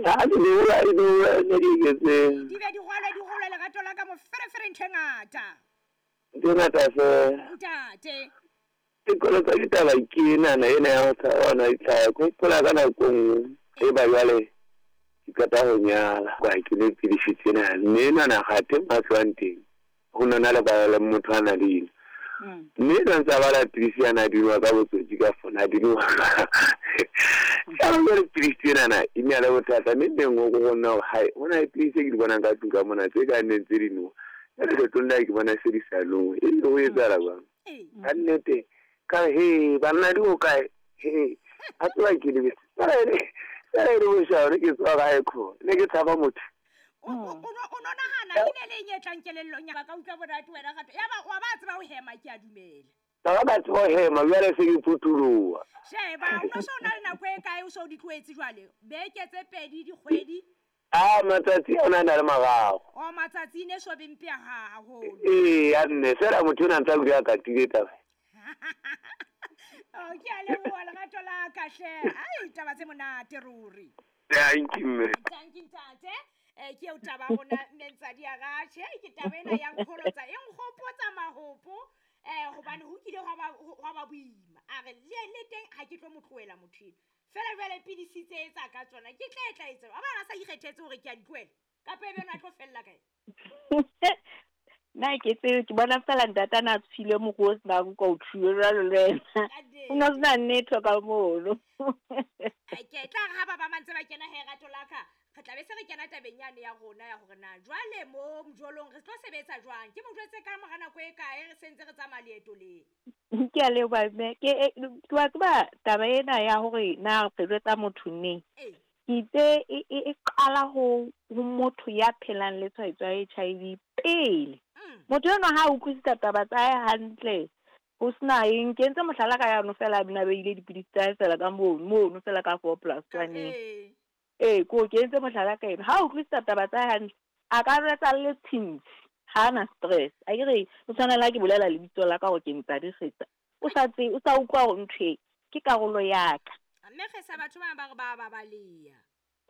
Ha di nowa di nowa ne di eketseha. Di be di rwalwe di holwe lerato la ka moferefere ntho e ngata. Ntho e ngata fela. Ntate. Sekolo sa ditaba ke enana ena ya ho tshaba hona ditlhare. Ke hopola ka nako e nngwe e ba jwale ke qeta ho nyala. Ka ke nwe pidisi tsena mme enana kgathe mo a tlohang teng ho nona le ba le motho a na le eno. Mme enwa ntse a bala pidisi yana a di nwa ka botsotsi ka fona a di nwa. Ya ba jwale pidisi tsenana e ne le bothata mme neng o go nna hore hai ho na le pidisi e ke di bonang ka tlung ka mona tse ka neng tse di nowa. Jwale kgetlong lena ke bona se di sa nowe. E le ho etsahala jwang? Ka nnete ka re he banna di hokae? He a tseba ke lebetse. Fela e le boshano ke tswa kae kho? Ne ke tshaba motho. O no nahana e ne le eng e tlang kelellong ya ka utlwa monate wena gato. Ya ba wa ba tseba ho hema ke a dumela. Ba ba tseba ho hema jwale se ke phuthuloha. Sheba o no so na le nako e kae o so di tlohetse jwale? Beke tse pedi dikgwedi? A matsatsi a na le mararo. O matsatsi ne so be mpe haholo. Ee, a nne fela motho o na ntse a dula a katile taba. Oh, ke a leboha lerato la ka hle. Ai taba tse monate ruri. Thank you mme. Thank you ntate. Ke eo taba rona mme Ntsadi a Ratjhe. Ke taba ena ya nkgolotsa e nkgopotsa mahopo. Hobane ho kile hwa ba boima. A re le teng ha ke tlo mo tlohela motho eno. Fela jwale pidisi tse etsa ka tsona ke tla etla etsa. Wa bona a sa ikgethetse hore ke a di tlohela. Kapa ebe ena a tlo fella kae? Nna ke tsebe ke bona fela ntate a na tshwile moruo o senang ka o thuwe jwalo le wena. O no sena nnete ka mono. Ke tla re ha ba ba mantse ba kena he rato la ka. Re tla be se re kena tabeng yane ya rona ya hore na jwale mo mojolong re tlo sebetsa jwang. Ke mo jwetse ka mora nako e kae re sentse re tsamaya leeto le. Ke a leboha mme. Ke wa tseba taba ena ya hore na re jwetsa motho neng. Ke itse e qala ho motho ya phelang le tshwaetso ya HIV pele. Motho enwa ha a utlwisisa taba tsa hae hantle ho sena eng, ke entse mohlala ka yano fela a bina beile dipidisi tsa hae fela ka mono fela ka 4+1. Ee, ko ke entse mohlala ka ena. Ha utlwisisa taba tsa hae hantle, a ka jwetsa le tshintshi, ha na stress. A ke re o tshwana le ha ke bolela lebitso la ka hore ke Ntsadi Kgetsa. O sa tse, o sa utlwa hore ntho e ke karolo ya ka. Mme Kgetsa batho bana ba re ba ba baleya.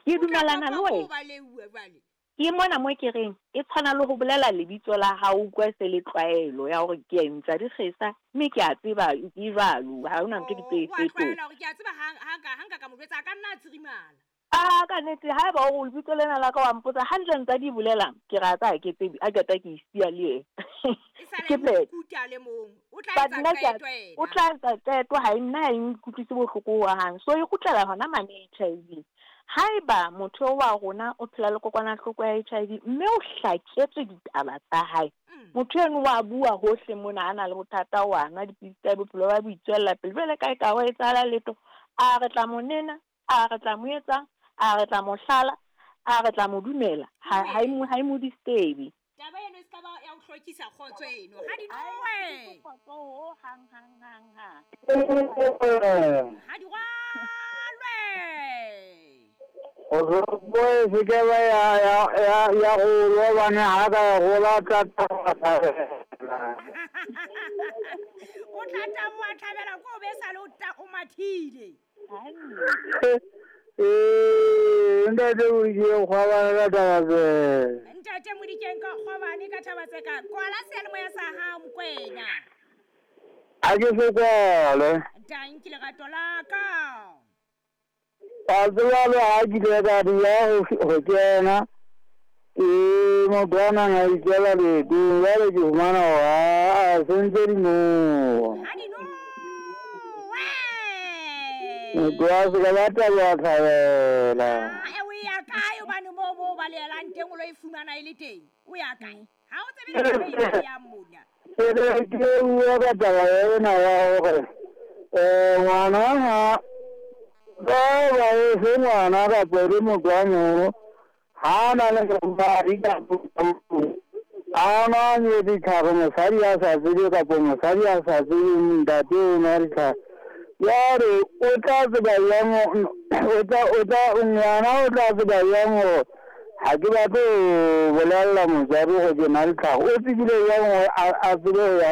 Ke dumelana le wena. Ba leuwe jwale. Ke mona mo ke reng e tshwana le ho bolela lebitso la hao utlwa se le tlwaelo ya hore ke Ntsadi Kgetsa mme ke a tseba ke jwalo ha hona ntho di tse O a tlwaela hore ke a tseba ha nka ka mo jwetsa a ka nna a tsirimala. A ka nnete haeba o lebitso lena la ka wa mpotsa hantle Ntsadi e bolelang ke re a tsa ke tsebe a qeta ke isiya le yena. E sale mokuta le mong o tla etsa qeto ena. O tla etsa qeto ha nna ha e nkutlwise bohloko ho hang. So e kgutlela hona mane HIV. Haeba motho wa rona o phela le kokwanahloko ya HIV mme o hlaketswe ditaba tsa hae. Motho eno wa bua hohle mona a na le bothata wa nwa dipidisi tsa bophelo ba boitswella pele. Jwale kae ka ho etsahala letho a re tla mo nena, a re tla mo etsang, a re tla mo hlala, a re tla mo dumela. Ha e mo disturb. Taba eno e ska ba ya o hlokisa kgotso eno. Ha di nowe. Kgotso ho hang hang hang hang. Ha di rwalwe. O boe se ke ba ya go lobane ha ka gola tla thabela. O tla taboha thabela ko be sa le o mathile. Ntate Modikeng kgwabane ka taba tse. Ntate Modikeng ka kgwabane ka taba tse ka. Kwala seyalemoya sa hao Mokwena. A ke se kwale. Tanki lerato la ka. A tseba le ha ke ile ka dula ho kena. Ke motho a nang a ikela leetong jwale ke fumana hore a sentse di nowa. Ha di nowe. Motho a se ka ba taba thabela. O ya kae hobane moo ba leelang teng o lo e fumana e le teng? O ya kae? Ha o tsebe le e ya mona. Ke bua ka taba ena ya hore ngwana ha ba e se ngwana kapa le motho a moholo ha na le madi kapa a na le ditlhare mosadi a sa tsebe kapa mosadi a sa tsebe ntate o nwa ditlhare. Jwale o tla tseba jwang ngwana o tla tseba jwang hore ha ke batle ho bolella motswadi hore ke na le tlhare. O tsebile jwang hore a tsebe ho ya